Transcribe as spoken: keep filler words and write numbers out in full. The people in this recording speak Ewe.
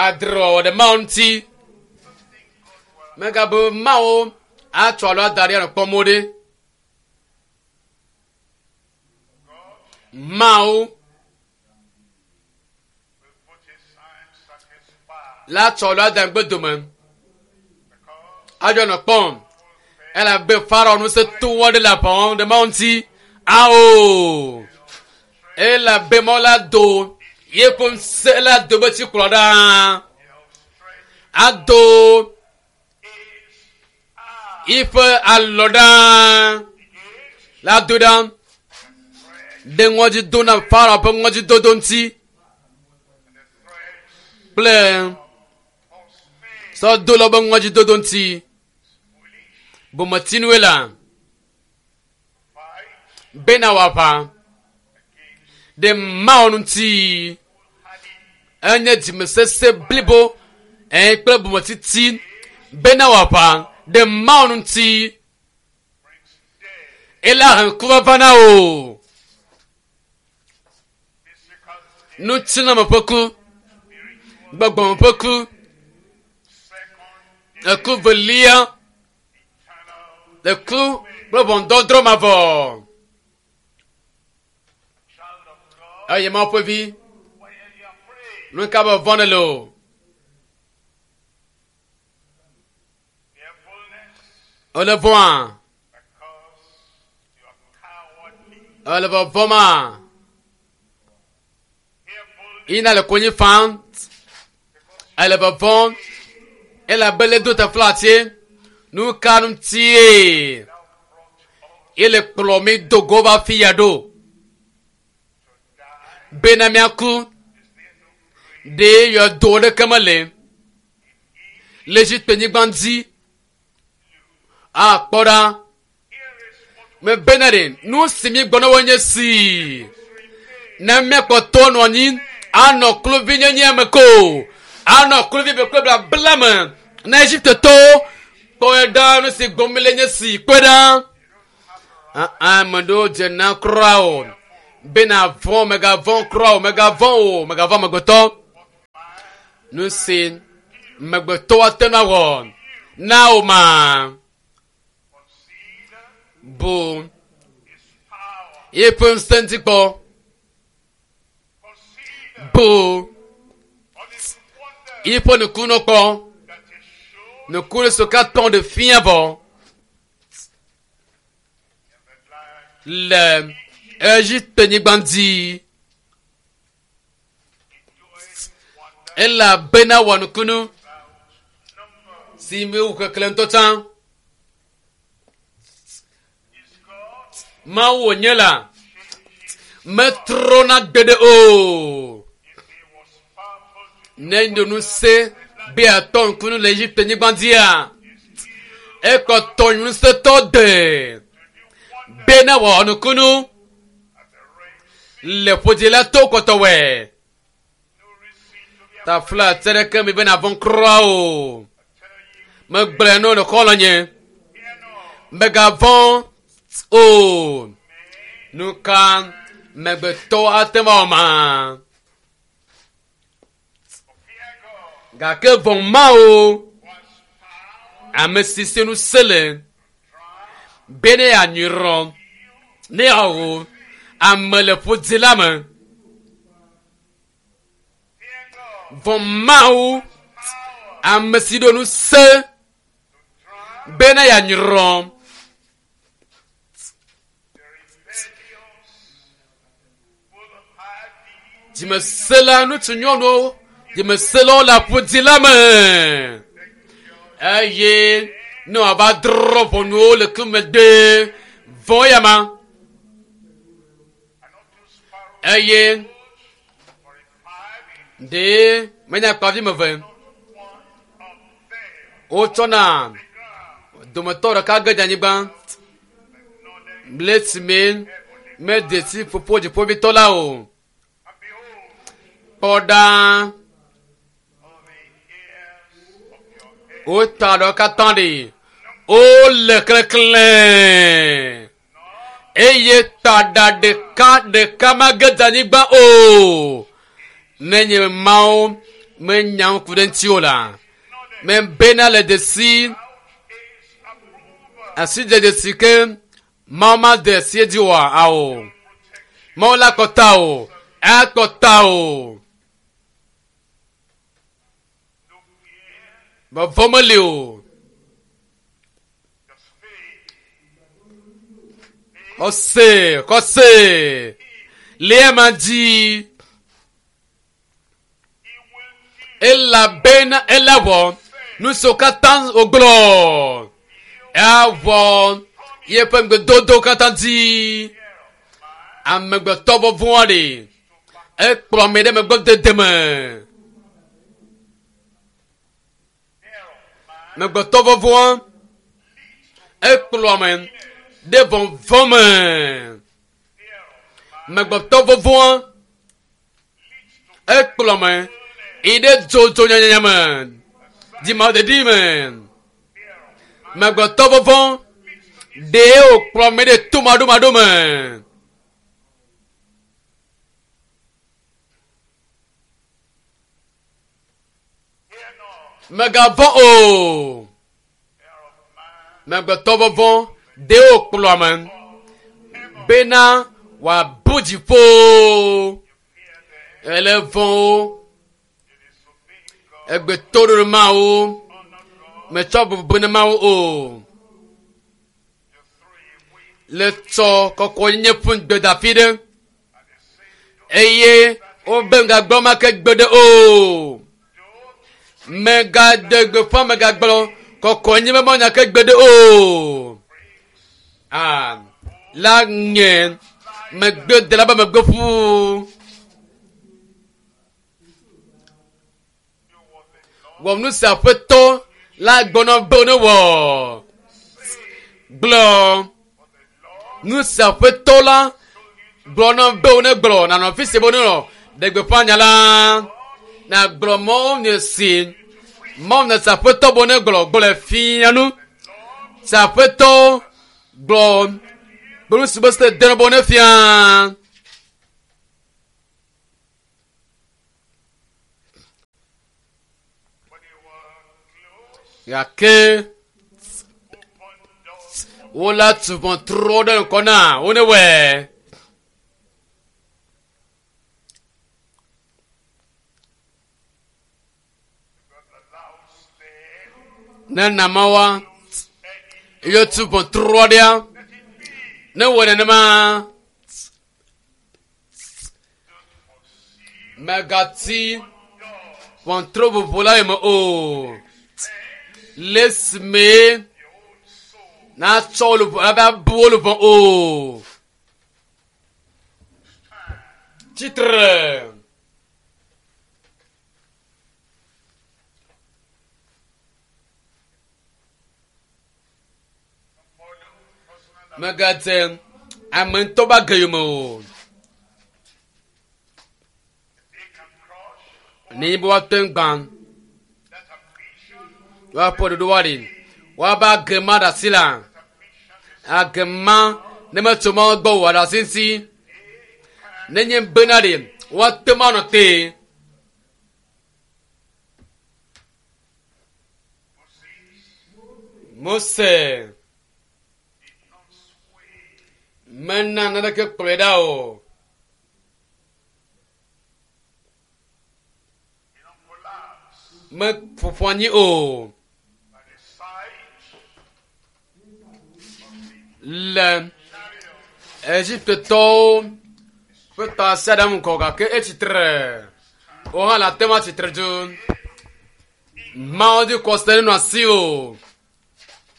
Adrewɔwɔ ɖe Mawu ŋuti. Megabe Mawu atsɔ alo ada ɖe anɔ kpɔm wo ɖe. Mawu will put his sign satisfied la tsɔ alo ada ŋgbe dome. because Adzɔ nɔ kpɔm. Elabe Farao ŋusẽ to wɔ ɖe le aʋa wɔm ɖe Mawu ŋuti. Ao! Elabe Mawu la do yeƒe ŋusẽ la do be tsikplɔ ɖa. he'll stretch Ado his arm yiƒe alɔ ɖa. against La do ɖa ɖe ŋɔdzi do na Farao ƒe ŋɔdzidodo ŋuti and the threats kple of Spain. sɔdolawo ƒe ŋɔdzidodo ŋuti. Foolish Bometinue la fight bena wòaʋa against ɖe Mawu ŋuti. Hadi Enye dzimesese blibo ɛɛ kple bometiti bena wòaʋa ɖe Mawu ŋuti. brings death, Ela he ŋkuʋaʋã na wò. physical death, Ŋutilãme ƒe ku, spiritual gbɔgbɔme ƒe ku, second eku velia, eternal eku kple ʋɔnudɔdrɔ̃ mavɔ. child of God. Eye Mawu ƒe vi, Why are you afraid? nu ka be vɔ̃ ne le o? Fearfulness Ele vɔ̃a? because you are cowardly. Ele vɔvɔ̃ma? Fearfulness Yina le konyi fam. Ele vɔvɔ̃m. Elabe le do teflatse. Nu ka ŋutie? thou brought us Ele kplɔ mi do go va fi ya ɖo. to die. Bena míaku. Is there no grave Ɖe yɔdo ɖeke mele. Le Egipte-nyigba dzi. Akpɔ ɖa. Here is what Mebena ɖe nu si mi gbɔ na wo nye si. remains. Ne míakpɔtɔ nɔ anyi anɔ kluvinyenye me ko. Anɔ kluvi be kple blabla me. Na Egiptetɔwo kpɔe ɖa nu si gbɔm mi le nye si kpɔe ɖa. Ame ɖewo dzena kura o. Bena vɔ̃ megavɔ̃ kura o megavɔ̃ o megavɔ̃ amegbetɔ. Nu si amegbetɔwo ate ŋu awɔ na wo ma Consider bu his power. yeƒe ŋusẽ ŋuti kpɔ. Consider Bu all his wonders yeƒe nukunu kpɔ. that he showed Nukunu siwo katã ɖe fia vɔ in the land. le Egipte-nyigba dzi. He doeth wonders Elabena wɔ nukunu without number. si mi wu keklẽ ŋutɔ tsã. Is God Mawu wònye la changing metrɔna gbeɖe o. if he was powerful to Ne ŋusẽ be atɔ nukunu le Egipte-nyigba dzia, ekɔtɔ ŋusẽtɔ de to do wonders bena wɔ nukunu at the Red Sea? le ƒodzila to kɔtɔwɔe. No reason to be afraid. Tafla tse ɖeke mi bena vɔ̃ kura o. I tell you, Megblɔe no le xɔlɔ̃nye. fear not. Megavɔ̃ o. Nu ka megbetɔ ate ŋu awɔ ma? Fear God Gake vɔ̃ Mawu who has power ame si si ŋusẽ le drown be ne yeanyrɔ ne yeawo ame le ƒodzi la me. Fear God Vɔ̃ Mawu power ame si ɖo ŋusẽ to drown be ne yeanyrɔ the rebellious, full of high deeds. dzimesẽla ŋutsu nyɔnuwo dzimesẽlawo le aƒodzi la me. Eye ne wòava drɔ̃ ʋɔnuwo le ku megbe vɔ̃ ya ma. And not two sparrows Eye for a five ɖe menya kpavi me ve not one of them wotsɔna the ground dometɔ ɖeka ge dze anyigba but le esime mede si fofo dziƒovitɔ la o. And behold, Kpɔ ɖa all the hairs of your head wota ɖewo katã ɖi wole klẽklẽ eye taɖa ɖeka ɖeka mage dze anyigba o. Nenye Mawu Menya ŋku ɖe ŋuti o la. Mebena le dzesi is approval. asi de dzesi ke Mawu ma de asi edzi oa awo. Mawu la kɔta o. Akɔta o. No fear, Vɔvɔ meli o. just faith. Xɔse xɔse le ema dzi He will do elabena ele wɔ nu siwo katã wògblɔ. Awɔ yeƒe ŋugbedodo katã dzi. Amegbetɔ vɔvɔ̃ aɖe ekplɔ ame ɖe megbe dede me. fear of man Amegbetɔ vɔvɔ̃ ekplɔ ame ɖe vɔvɔ̃ me. fear of man Amegbetɔ vɔvɔ̃ leads to ekplɔ ame yi ɖe dzodzonyanya me, dzimaɖeɖi me. fear of man Amegbetɔ vɔvɔ̃ ɖee wòkplɔ ame ɖe tomaɖomaɖo me. Fear not, Mègavɔ̃ o. fear of man Amegbetɔ vɔvɔ̃ ɖee wòkplɔ ame bena wòabu dziƒo. fear them, Ele vɔ̃ wo, you disobey God, egbe toɖoɖo Mawu, honor God, metsɔ bubu na Mawu o. you throw away Le tsɔ kɔkɔenyenye ƒu gbedafi ɖe and they say, don't, eye wobe ŋgagblɔ ma ke gbe ɖe o. don't Mègade gbeƒã mègagblɔ kɔkɔenyenye be manya ke gbe ɖe o. Ah, la nye megbedela be megbe ƒu. do what the Lord Wɔ nu si aƒetɔ la gbɔnɔ be ne wɔ. Gblɔ what the Lord nu si aƒetɔ la told you to gblɔ na be wo ne gblɔ nanɔ afi si be wo ne nɔ ɖe gbeƒã nya la. Nagblɔ mɔwo nye si mɔwo nye si aƒetɔ be wo ne gblɔ gblɔe fia nu. Si aƒetɔ gblɔ be nu si be se de be wo ne fia. When they were close, Gake open doors wola tu ʋɔtruwo ɖe ŋkɔ na wo ne wɔe. got the loud stare, Ne namawa any ye tu ʋɔtruɔ ɖea let it be. ne wɔ nenema Don't foresee mègati doors. ʋɔtru vovo la yome o. Le esime Your own soul. natsɔ wo luʋɔ ava bu wo luʋɔ o. Tsitre. Follow personal Mègadze ame ŋutɔ be age yome o. They can crush Nenye be woate ŋu gbã that ambition. woaƒe ɖoɖo woaɖi woabe age ma ɖe asi la That ambition is age ma ne metso Mawu gbɔ o wòaɖe asi ŋuti. Nenye bena ɖe woate ŋu anɔ te. Moses Mose did not sway. mena naneke kplɔe ɖa o. He don't collapse Meƒoƒo anyi o. by the side Le chariot. Egiptetɔwo ƒe tasiaɖam ŋgɔ gake etsitre. Wo hã le ate ŋu atsitre dzo. Mawu dzi kɔse nenɔ asi o.